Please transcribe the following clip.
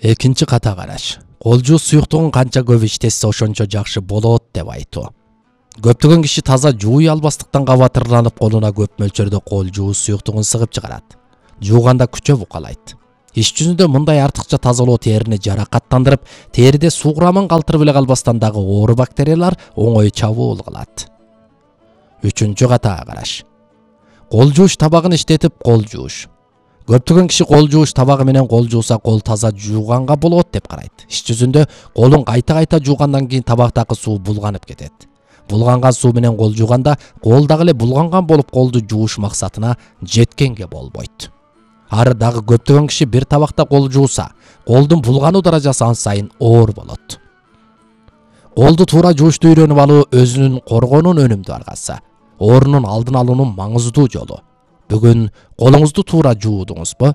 Экинчи ката караш. Кол жуус суюктугун канча көп иштетсе ошончо жакшы болот деп айтуу. Көптөгөн киши таза жууй албастыктан кабатырланып колуна көп мөлчөрдө кол жуус суюктугун сыгып чыгарат. Жууганда күчө букалайт. Иш жүзүндө мындай артыкча тазалоо терини жаракаттандырып, териде суу курамын калтырып эле калбастан дагы оору бактериялар оңой чабуул кылат. Үчүнчү катаа караш. Кол жууш табагын иштетип кол жууш. Көптөгөн киши кол жууш табагы менен кол жууса кол таза жууганга болот деп карайт. Иш жүзүндө колун кайта жуугандан кийин табактагы суу булганып кетет. Булганган суу менен кол жууганда кол дагы эле булганган болуп колду жууш максатына жеткенге болбойт. Ары дагы көптөгөн киши бир табакта кол жууса, колдун булгануу даражасы ан сайын оор болот. Колду туура жуушту үйрөнүп алуу өзүнүн коргоонун өнүмдүү аргасы, оорунун алдын алуунун маңыздуу жолу. Бүгүн колуңузду туура жуудуңузбу?